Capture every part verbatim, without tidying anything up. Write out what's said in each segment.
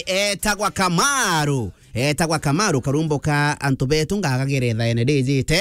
Etagwa Kamaru. Etagwa Kamaru, karumbo ka antu betu ngagagere thaene rijite.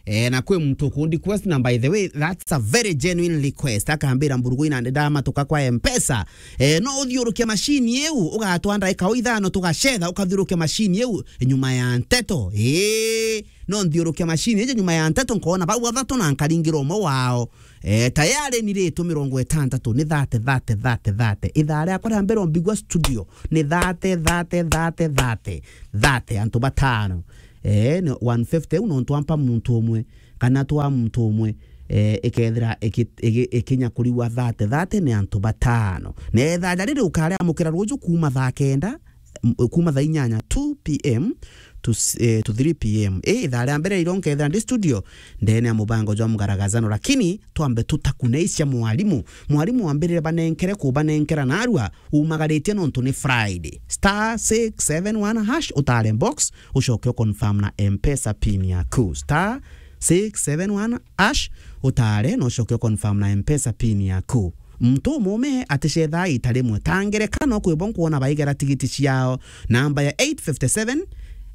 Eh, na kwi muntu ukundi request, na by the way, that's a very genuine request. Akambira, "Mburugu inandi ndamatuka kwa Mpesa." Eh, no uthiuruke machine iu, ugatwa ndaika o ithano tugacetha, ukathiuruke machine iu nyuma ya nteto. Ii, no nthiuruke machine iji nyuma ya nteto, nkona bau bathatu na nkaringira umwe wao. Eh, tayari ni ritu mirongo itantatu, ni thate, thate, thate, thate. Ithaa riakwa ria mbere umbigua studio, ni thate, thate, thate, thate, thate, antu batano. Eh, ni one fifty u nontu ampa muntu umwe, kana twa muntu umwe, eh, ikethira iki-, iki-, ikinya kuriwa thate, thate ni antu batano. Na ithaa riri ukariamukira ruju kuma thaa kenda, m-, kuma thaa inyanya, two p m to s-, eh, to three p m. Eh, ithaa ria mbere iro nkethira ndi studio, ndene ya mubango jwa mgaragazano, lakini twambe tutakuneisha mwalimu. Mwalimu wambirire banenkere kubanenkera narua, umagaritie nontu ni Friday. Star six seven one hash, utare box, ucoke uconfirm na Mpesa pin yaku. Star six seven one hash, utare na ucoke uconfirm na Mpesa pin yaku. Muntu umume aticethaa ita rimwe. Ta ngerekano, kwi bo nkwona baigera tigiti ciao. Namba ya eight fifty seven,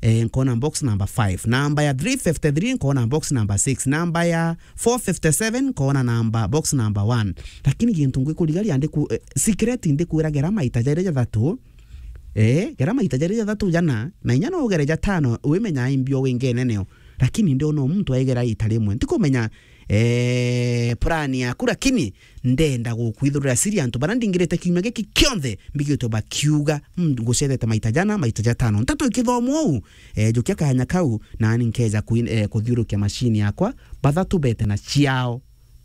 eh, nkona box number five. Namba ya three fifty three, nkona box number six. Namba ya four fifty seven, nkona namba, box number one. Lakini gintu ngwikurigaria ndiku-, eh, secret ndikwiragira maita jairi jathatu. Eh, gera maita jairi jathatu jana, na inya no ugere jatano, wimenya imbio winge neneo. Lakini ndiona muntu aigera ita rimwe. Ntikumenya, eh, plan yaku, lakini ndenda gukwithurira siri antu bara ndingirite kiumia giki kionthe mbigitwe bakiuga, "Mm, ngucethete maita jana, maita jatano." Nteto ikithomwa uu, eh, njukia kanya kau, nani nkeja kuin-, eh, kuthiurukia machine yakwa, bathatu bete na ciao.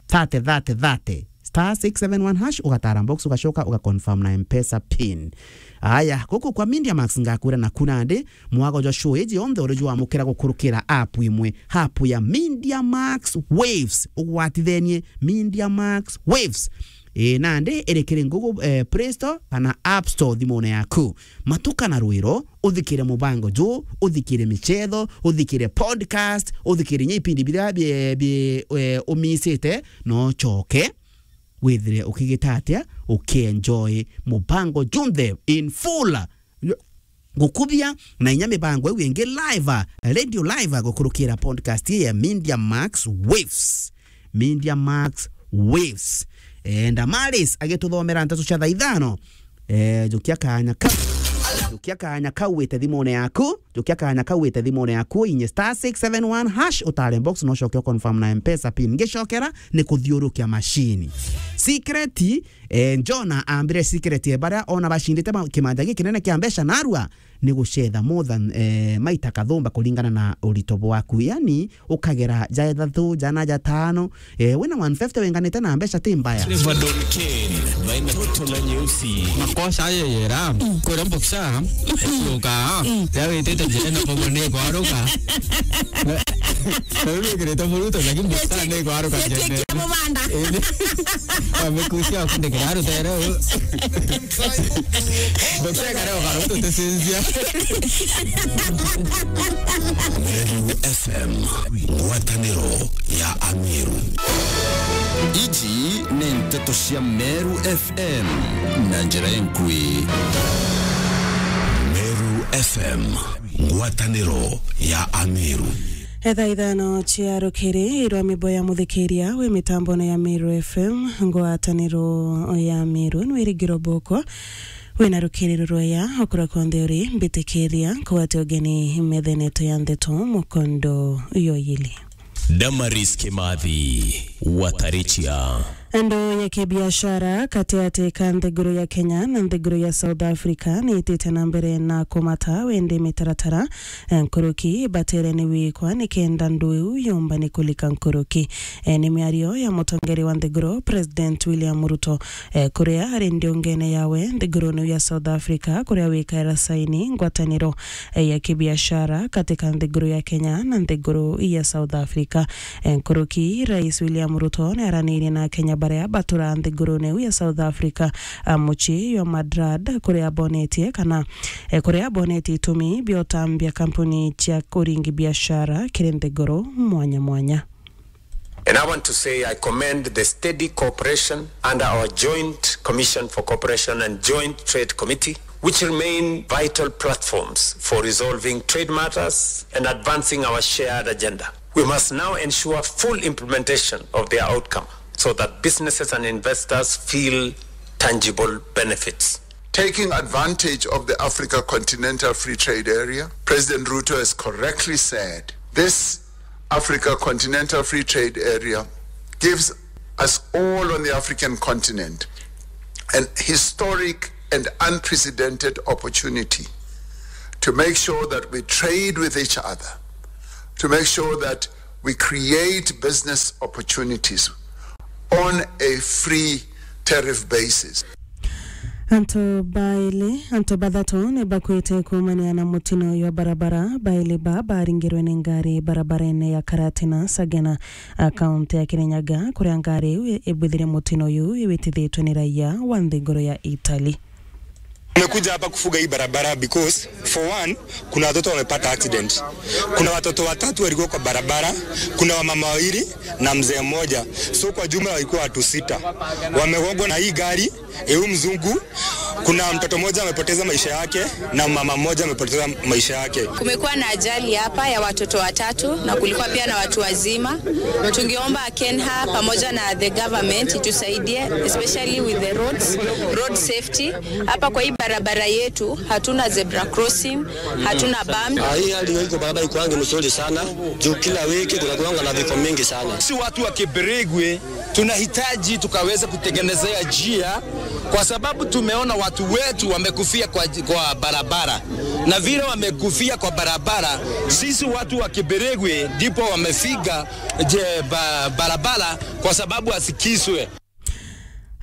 Thate, thate, thate. Star six seven one hash, ugatara box, ugacoka, ugaconfirm na Mpesa pin. Aya, guku kwa Media Max ngakwira naku nandi, mwago jwa show iji yonthe uri jwamukira gukurukira app imwe, app ya Media Max Waves. Ugwatithenie Media Max Waves. Ii, nandi iri kiri Google, eh, Play Store kana App Store thimune yaku. Matuka na rwiro, uthikire mubango ju, uthikire michetho, uthikire podcast, uthikire nya ipindi biria bi, bi, eh, umisite, no ucoke withire ukigita atia, ukienjoy mubango junthe in full. Gukubia na inya mibango iu ingi live, radio live, gukurukira podcast ya Media Max Waves. Media Max Waves. Eh, Damaris agituthomera nteto cia thaa ithano. Eh, jukia kanya kau. Jukia kanya kau wite thimune yaku. Jukia kanya kau wite thimune yaku. Inye star six seven one hash, utare box, no ucoke uconfirm na Mpesa pin. Ngicokera ni kuthiurukia machine. Secret, eh, Jona ambire secret ya baria ona bacindite ma-, kimanja gikinene kia mbeca narua. Ni gucetha more than, eh, maita kathumba kuringana na urito bwaku. Yani, ukagera ja ithatu, jana, jatano. Eh, wina one fifty winganite na mbeca ti mbaya. Trevor Don Kane, baina toto na nyeusi. Makosa ayo yera, kwira mboksa, yoka, ya witite njira na pogo ni kwaruka. Na rĩu wĩkĩrĩte mũruto, lakini mboksa ni kwaruka njene. Mubanda. Amekusia kundikira rutere. Ndũkegare ũgarũ tũtĩcĩnjia. Meru F M, ngwatanĩro ya Ameru. Iji nĩ nteto cia Meru F M na njĩra enkui. Meru F M, ngwatanĩro ya Ameru. Etha ithano cia rukiri irwa mibo ya muthikiria wi mitambone ya Meru F M, ngwataniro ya Meru, nwirigiro boko. Wina rukiri rurwaya, okura konthe uri, mbitikiria, kugwate ugeni metheneto ya ndeto, mukondo yoyili. Damaris Kimathi, Watarichia. Andu ya kibiashara katigati ka nthiguru ya Kenya na nthiguru ya South Africa niitite na mbere na kumata wendi mitaratara, eh, nkuruki batere ni wikwa nikenda ndu iu yumba ni kulika nkuruki. Eh, ni miario ya mutongeri wa nthiguru, President William Ruto, eh, kuria ari ndiungene yawe nthiguruni ya South Africa, kuria wikaira saini ngwataniro, eh, ya kibiashara katika nthiguru ya Kenya na nthiguru ya South Africa. Eh, nkuruki, Rais William Ruto ni aranirie na Akenya baria batura nthiguruni iu ya South Africa, a mucii jwa Madrid, kuria bonetie kana, eh, kuria bonetie itumi bia utambia kampuni cia uringi biashara kiri nthiguru mwanya mwanya. And I want to say I commend the steady cooperation under our Joint Commission for Cooperation and Joint Trade Committee which remain vital platforms for resolving trade matters and advancing our shared agenda. We must now ensure full implementation of their outcome so that businesses and investors feel tangible benefits. Taking advantage of the Africa Continental Free Trade Area, President Ruto has correctly said this Africa Continental Free Trade Area gives us all on the African continent an historic and unprecedented opportunity to make sure that we trade with each other, to make sure that we create business opportunities on a free tariff basis. Antu baili, antu bathatu ni bakwite kuumania na mutino uyu wa barabara. Baili ba baringirwe ni ngari barabarene ya Karatina Sagana, a kaunti ya Kirinyaga, kuria ngari iu ibwithire mutino uyu iwitithitwe ni raia wa nthiguru ya Italy. Tumekuja hapa kufuga hii barabara because for one, kuna watoto wamepata accident. Kuna watoto watatu walikuwa kwa barabara, kuna wamama wawili na mzee mmoja. So kwa jumla walikuwa watu sita. Wamegongwa na hii gari, eh, huyu mzungu. Kuna mtoto mmoja amepoteza maisha yake na mama mmoja amepoteza maisha yake. Kumekuwa na ajali hapa ya watoto watatu na kulikuwa pia na watu wazima. Tungeomba KENHA pamoja na the government itusaidie, especially with the roads, road safety. Hapa kwa hii barabara yetu hatuna zebra crossing, hatuna bump. Ah, hii hali iko barabara iko yangu mzuri sana. Juu kila wiki kuna kuanga na vifo mingi sana. Si watu wa Kibirigwi tunahitaji tukaweza kutengenezea njia, kwa sababu tumeona watu wetu wamekufia kwa, kwa barabara, na vile wamekufia kwa barabara, sisi watu wa Kibirigwi ndipo wamefiga je, ba, barabara kwa sababu asikiswe.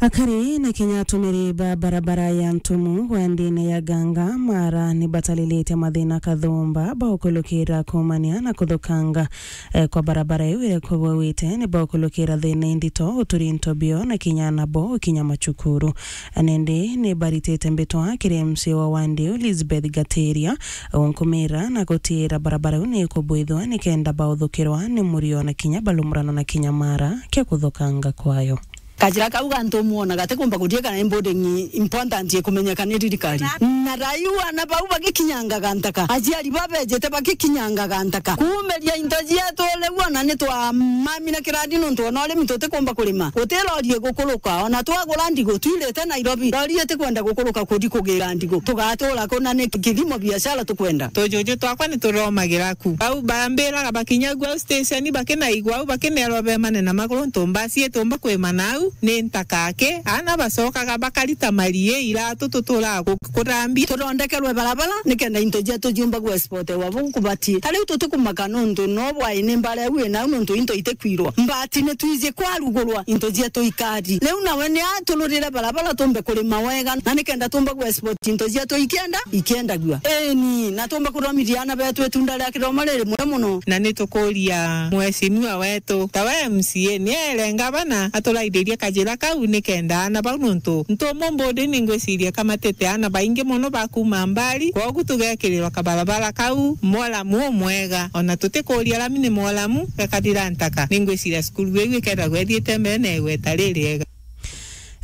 Akari na kinya atumiri ba barabara ya Ntumu wendine ya Ganga Mara ni batalilite mathina kathumba baukulukira kuumania na kuthukanga, eh, kwa barabara iu iria kubwawite ni baukulukira thina indito uturi into bio na kinya nabo ukinya macukuru. Nindi ni baritite mbitwa kiri M C A wa wandi iu Elizabeth Gatiria unkumira na gutira barabara iu ni ikubwithwa nikenda bauthukirwa ni murio na kinya balumuranwa na kinya Mara kia kuthukanga kwayo. Kajira kau ga Ntumu ona gatikumba kuthie kana ni building important ikumenyeka ni thirikari. Na raiu ana bau bagikinyangaga ntaka, aciari babejete bagikinyangaga ntaka. Kuumiria into cietu riu ona ni twamamina kirandi nontu ona urimi tutikumba kurima. Guti lori igukuruka, ona twagura ndigu twirite Nairobi, lori itikwenda gukuruka kuthi kugira ndigu. Tugatura ku na ni kithimo biashara tukwenda? Tujuju twakwa ni turomagira ku. Bau bambiraga bakinya guo au station, bakinaigua au, bakinerwa bemane na maguru, ntu mbasi itumba kwimana au, ni ntaka aki. Ana bacokaga bakarita marie, iratu tuturaga ku-, kuthambia. Tuthondekerwe barabara, nikenda into cietu ciumba gwa export wa buu kubatie. Ta riu tutikumaka nontu no bwai ni mbara iu inau nontu into itikwirwa. Mbati ni twiji kwarugurwa, into cietu ikari. Riu nawe ni atururire barabara tumbe kurima wega, na nikenda tumba gwa export into cietu ikienda, ikiendagua. Eni, na tumba kuthomithia ana betu itunda ria kithomo riri muno muno. Na ni tukuria mheshimiwa wetu, ta we M C A, ni ere ngavana aturaithirie kajira kau nikenda ana bau, nontu ntumu mbudi ni ngwiciria kamatite ana baingi muno ba kuuma mbari, kwogu tugekirirwa kabarabara kau mwolamu umwega. Ona tutikuria lami ni mwolamu, gakathira ntaka. Ni ngwiciria cukuru iu ikethagwa ithiite mbere na igweta ririega.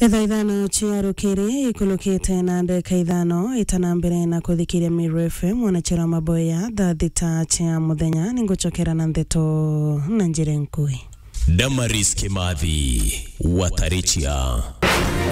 Ithaa ithano cia rukiri ikulukite na ndeka ithano, itana mbere na kuthikiria Meru F M, mwanachera maboya, thaa thita cia muthenya, ningucokera na ndeto na njira nkui. Damaris Kimathi, Watarichia.